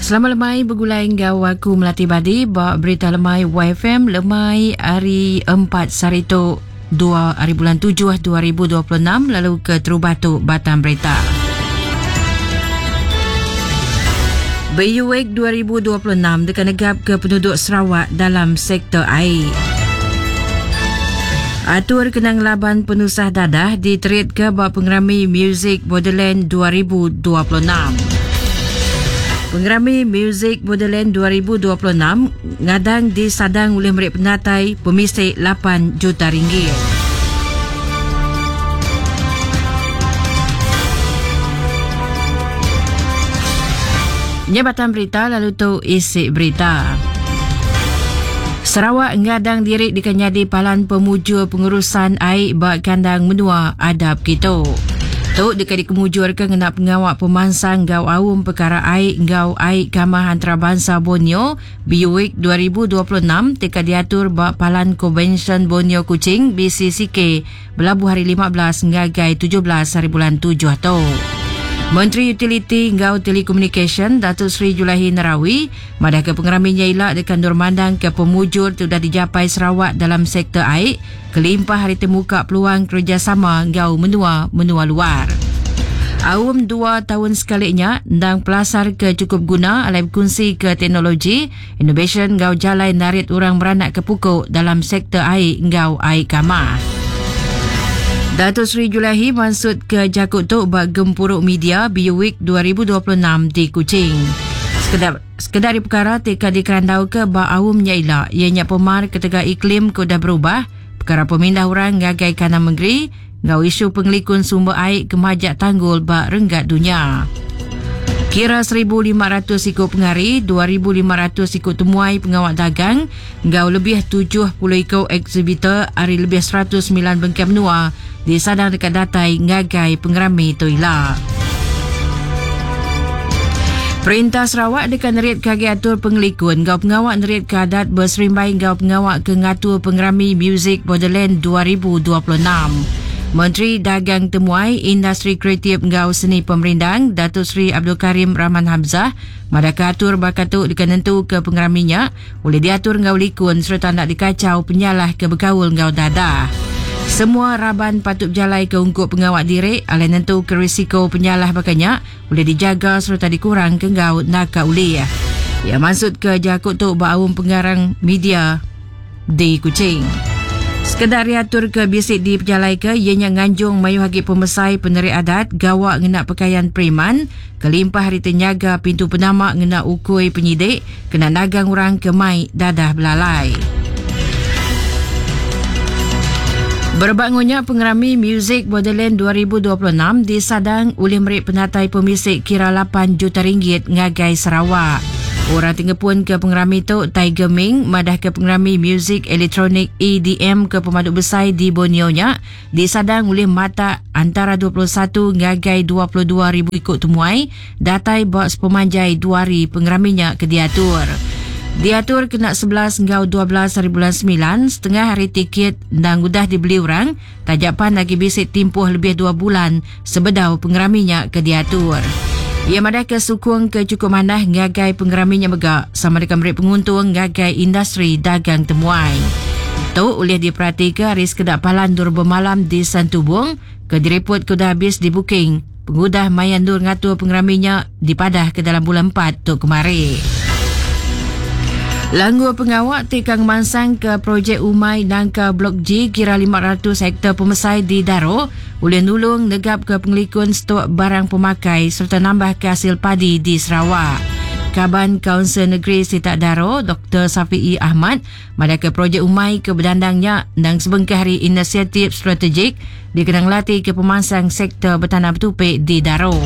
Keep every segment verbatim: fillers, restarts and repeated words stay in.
Selamat lemai bergulai ngau aku Melati Badi ba berita lemai Y F M lemai hari empat sehari tu dua hari bulan tujuh dua ribu dua puluh enam lalu ke terubah tu batang berita. B U Week dua ribu dua puluh enam dekat negap ke penduduk Sarawak dalam sektor air. Atur kenang laban penusah dadah diterit ke bak pengerami Music Borderland dua ribu dua puluh enam. Pengerami Music Borderland dua ribu dua puluh enam ngadang disadang oleh merik penatai pemisik lapan juta ringgit. Nyebatan berita lalu tu isi berita. Sarawak ngadang diri dikenyadi palan pemujur pengurusan air bak kandang menua adab kitu. Tu dekat dikemujur ke ngena pengawak pemansang gau aum perkara air gau air kamah antarabangsa Borneo B U Week dua ribu dua puluh enam teka diatur bak palan Convention Borneo Kuching B C C K belabuh hari lima belas ngagai tujuh belas hari bulan tujuh tu. Menteri Utiliti ngau Telekomunikasi Datuk Seri Julaihi Narawi madah ke pengeraminya ilak dekat Nur Mandang ke pemujur sudah dijapai Sarawak dalam sektor air kelimpah hari termuka peluang kerjasama ngau menua-menua luar. Aum dua tahun sekalinya ndang pelasar ke cukup guna alai berkongsi ke teknologi, innovation ngau jalai narit orang beranak ke pukul dalam sektor air ngau air kamar. Datuk Seri Julaihi maksud ke Jakut Tok bak gempuruk media B U Week dua ribu dua puluh enam di Kuching. Sekedar, sekedar di perkara T K dikerandau ke bak aumnya ila, ianya pemar ketegak iklim ke dah berubah, perkara pemindah orang ngagai kanan negeri, ngau isu pengelikun sumber air kemajak tanggul bak renggat dunia. Kira seribu lima ratus ikut pengari, dua ribu lima ratus ikut temuai pengawak dagang, ngau lebih tujuh puluh ikut exhibitor hari lebih seratus sembilan bengkai menua di sadang dekat datai ngagai pengerami Toila. Perintah Sarawak dekat nerit kaki atur pengelikun ngau pengawak nerit keadat berserimbai ngau pengawak ke ngatur pengerami Music Borderland dua ribu dua puluh enam. Menteri Dagang Temuai Industri Kreatif ngau Seni Pemerindang Datuk Seri Abdul Karim Rahman Hamzah madaka atur bakat tu dekat nentu ke pengeraminya boleh diatur ngau likun serta nak dikacau penyalah ke berkaul ngau dadah. Semua raban patut berjalai ke ungkup pengawak diri alai nentu ke risiko penyalah bakanya boleh dijaga serta dikurang ke ngau naka uli. Ya maksud ke jakut tu baum pengarang media di Kuching. Sekedar diatur ke bisik di pejalai ke ianya nganjung mayu hagi pemesai penerik adat gawak ngena pakaian preman kelimpah hari tenyaga pintu penamak ngena ukui penyidik kena nagang orang ke mai dadah belalai. Berbangunnya pengerami Music Borderland dua ribu dua puluh enam disadang oleh merik penatai pemisik kira lapan juta ringgit ngagai Sarawak. Orang tinggal pun ke pengerami tu Tiger Ming madah ke pengerami muzik elektronik E D M ke pemaduk besar di Borneo nya disadang oleh mata antara dua puluh satu ngagai dua puluh dua ribu ikut temuai datai bak sepemanjai dua hari pengeraminya ke diatur. Diatur kena sebelas ngau dua belas hari bulan sembilan, setengah hari tiket dan udah dibeli orang, tajapan lagi bisik timpuh lebih dua bulan sebedau pengeraminya ke diatur. Ia madah ke sukung ke cukup manah ngagai pengeraminya megak sama dengan merik penguntung ngagai industri dagang temuai. Tu oleh diperhati ke hari sekedak palan dur bermalam di Santubong ke direpot ke dah habis di booking. Pengudah mayan dur ngatur pengeraminya dipadah ke dalam bulan empat tu kemari. Langgur pengawak tikang mansang ke projek Umai Nangka Blok G kira lima ratus hektar pemesai di Daro oleh nulung negap ke pengelikun stok barang pemakai serta nambah ke hasil padi di Sarawak. Kaban Kaunsil Negeri Sitak Daro, Doktor Safi'i Ahmad, madah ke projek Umai ke berdandangnya dan sebengkah hari inisiatif strategik dikenang latih ke pemansang sektor bertanah bertupik di Daro.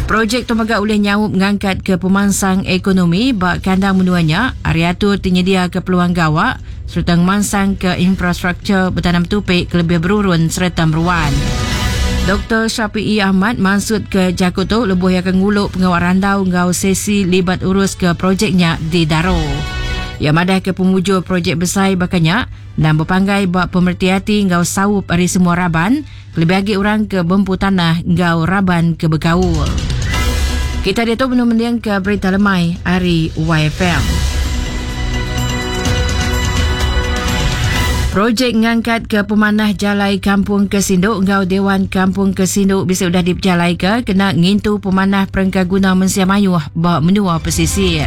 Projek tu megak oleh nyaup ngangkat ke pemansang ekonomi bak kandang menuanya, ariatur tinyedia ke peluang gawak serta mansang ke infrastruktur bertanam tupik ke lebih berurun serta meruan. Doktor Syafi'i Ahmad maksud ke Jakut tu lebuh yang akan nguluk pengawak randau ngau sesi libat urus ke projeknya di Daro. Yang madah ke pemujur projek besar bakanya dan berpanggai bak pemerti hati ngau saup hari semua raban, lebih lagi orang ke bempu tanah ngau raban ke berkaul. Kita dia tu menung ke berita lemai hari Y F M. Projek ngangkat ke pemanah jalai Kampung Kesinduk ngau Dewan Kampung Kesinduk bisa sudah diperjalai ke kena ngintu pemanah perengkaguna mensia mayuh ba menua pesisir.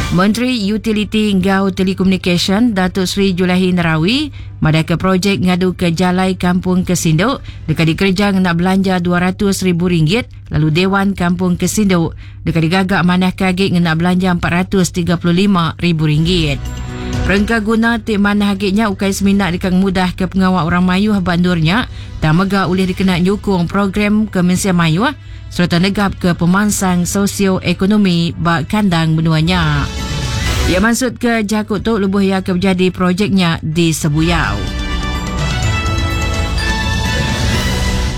Menteri Utiliti ngau Telekomunikasi Datuk Seri Julaihi Narawi madah ke projek ngadu ke jalai Kampung Kesinduk dekat dikerja ngena belanja dua ratus ribu ringgit lalu Dewan Kampung Kesinduk dekat digagak manah kagik ngena belanja empat ratus tiga puluh lima ribu ringgit. Perengkaguna ti manah agiknya ukai seminak dekat mudah ke pengawal orang mayuh bandurnya dan mega ulih dikena nyukung program ke mensia mayuh serta negap ke pemansang sosioekonomi bak kandang menuanya. Ia maksud ke jakut tu lebuh ia ke menjadi projeknya di Sebuyau.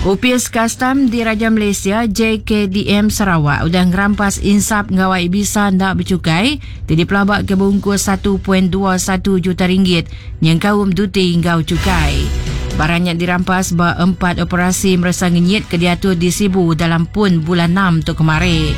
Upis Kastam di Raja Malaysia J K D M Sarawak udah ngerampas insap ngawai bisa ndak bercukai jadi pelabak ke bungkus satu perpuluhan dua satu juta ringgit yang kaum duti ngau cukai. Barangnya dirampas ba empat operasi merasa ngenyit ke diatur di Sibu dalam pun bulan enam tu kemarin.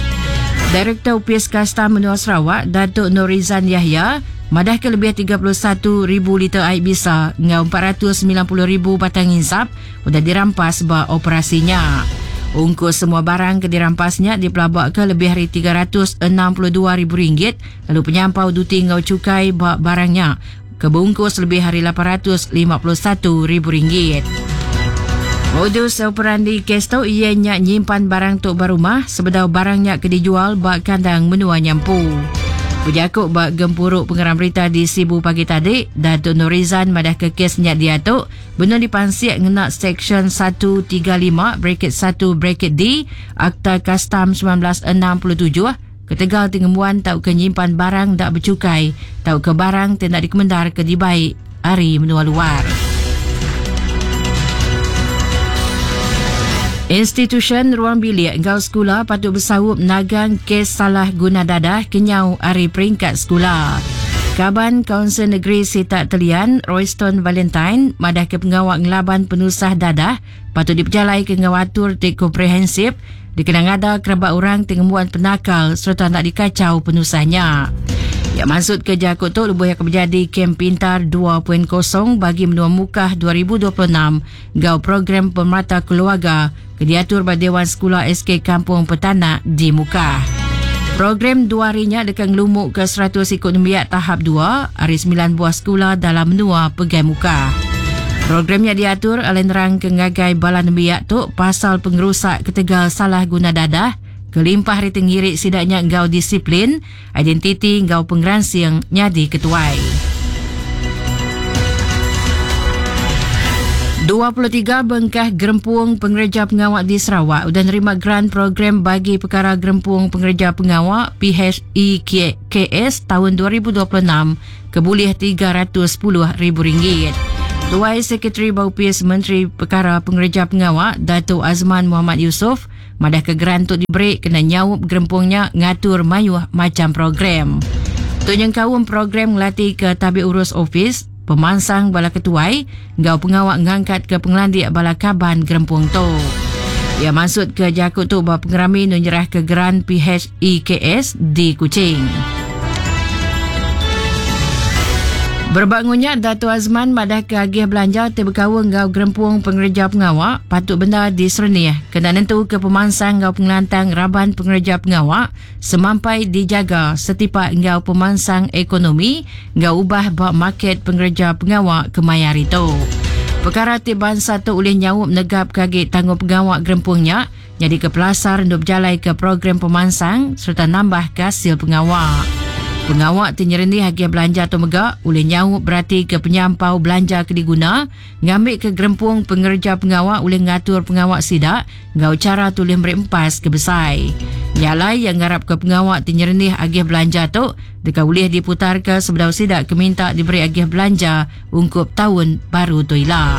Direktur Upis Kastam Menua Sarawak Datuk Norizan Yahya madah ke lebih tiga puluh satu ribu liter air bisa ngau empat ratus sembilan puluh ribu batang insap sudah dirampas ba operasinya. Ungkus semua barang ke dirampasnya dipelabak ke lebih hari tiga ratus enam puluh dua ribu ringgit lalu penyampau duti ngau cukai ba barangnya kebungkus lebih hari lapan ratus lima puluh satu ribu ringgit. Modus operandi kes tu ia nyak nyimpan barang tok barumah sebedau barangnya ke dijual ba kandang menua nyampu. Berjakuk bak gempuruk pengeram berita di Sibu pagi tadi, Datuk Norizan madah ke kes nyak dia tu benar dipansiak ngena Seksyen satu tiga lima bracket satu bracket D Akta Kastam sembilan belas enam puluh tujuh ketegal tingemuan tau ke nyimpan barang dak bercukai tau ke barang tidak dikemendar ke dibaik hari menua luar. Institution Ruang Bilik Gau Sekolah patut bersawup nagang kes salah guna dadah kenyau hari peringkat sekolah. Kaban Kaunsil Negeri Sitak Telian, Royston Valentine, madah ke pengawak ngelaban penusah dadah patut diperjalai ke ngawatur tik komprehensif dikenang ada kerabat orang tengemuan penakal serta nak dikacau penusahnya. Ya maksud ke jakut tu lebuh yang menjadi Kem Pintar dua titik kosong bagi menua Mukah dua ribu dua puluh enam gau program pemerata keluarga ke diatur pada Dewan Sekolah S K Kampung Petanak di Mukah. Program dua harinya dekat ngelumuk ke seratus ikut nembiak tahap dua hari sembilan buah sekolah dalam menua Pegai Mukah. Programnya diatur oleh nerang ke ngagai bala nembiak tu pasal pengerusak ketegal salah guna dadah kelimpah hari tenggirik sidaknya ngau disiplin, identiti ngau pengeransiang nyadi ketuai. dua puluh tiga bengkah gerempung pengerja pengawak di Sarawak sudah nerima grant program bagi perkara gerempung pengerja pengawak P H E K S tahun dua ribu dua puluh enam kebulih tiga ratus sepuluh ribu ringgit. Tuai Sekretari Baupis Menteri Perkara Pengerja Pengawak Datuk Azman Muhammad Yusof madah ke grant tu diberi kena nyaup gerempungnya ngatur mayuh macam program. Tu nyengkaum program ngelatih ke tabik urus ofis, pemansang bala ketuai, ngau pengawak ngangkat ke pengelandik bala kaban gerempung tu. Ia maksud ke jakut tu bahawa pengerami menyerah ke grant P H E K S di Kuching. Berbangunnya Dato' Azman madah ke agih belanja terbekawa ngau gerempung pengerja pengawak patut benda disernih kena nentu ke pemansang ngau pengelantang raban pengerja pengawak semampai dijaga setipak ngau pemansang ekonomi ngau ubah bak market pengerja pengawak kemayar itu. Perkara ti bangsa tu oleh nyawup negap kaget tanggung pengawak gerempungnya jadi ke pelasar untuk berjalai ke program pemansang serta nambah hasil pengawak. Pengawak tinyerendi hagi belanja tu megak oleh nyawup berarti ke penyampau belanja ke diguna ngambil ke gerempung pengerja pengawak oleh ngatur pengawak sidak ngau cara tulis merempas ke besai. Nyalai yang ngarap ke pengawak tinyerendi agih belanja tu dekat boleh diputar ke sebedau sidak ke minta diberi agih belanja ungkup tahun baru tu ila.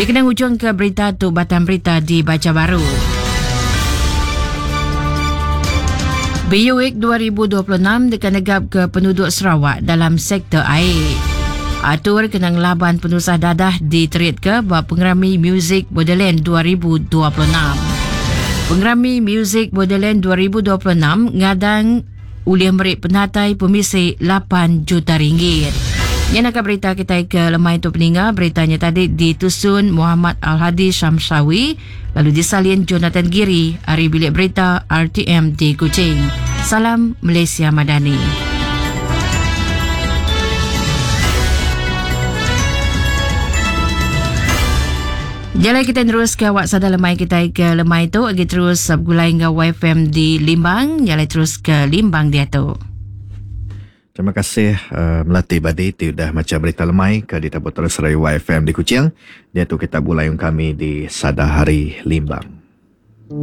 Dikenang ujung ke berita tu batang berita dibaca baru. B U Week dua ribu dua puluh enam dekat negap ke penduduk Sarawak dalam sektor air. Atur kena ngelaban penusah dadah diterit ke bab pengerami Music Borderland dua ribu dua puluh enam. Pengerami Music Borderland dua ribu dua puluh enam ngadang ulih meri penatai pemisi lapan juta ringgit. Yang nak berita kita ke lemai tu peninga, beritanya tadi ditusun Muhammad Al-Hadi Syamsawi lalu disalin Jonathan Giri ari bilik berita R T M di Kuching. Salam Malaysia Madani. Jalan kita terus ke awak sadar lemai kita ke lemai tu lagi terus bergulai dengan Y F M di Limbang, jalan terus ke Limbang dia tu. Terima kasih uh, Melati Badi ti udah macam berita lemai ke di Tabur Terus Rai Y F M di Kuching. Dia tu kita bulayung kami di Sada Hari Limbang.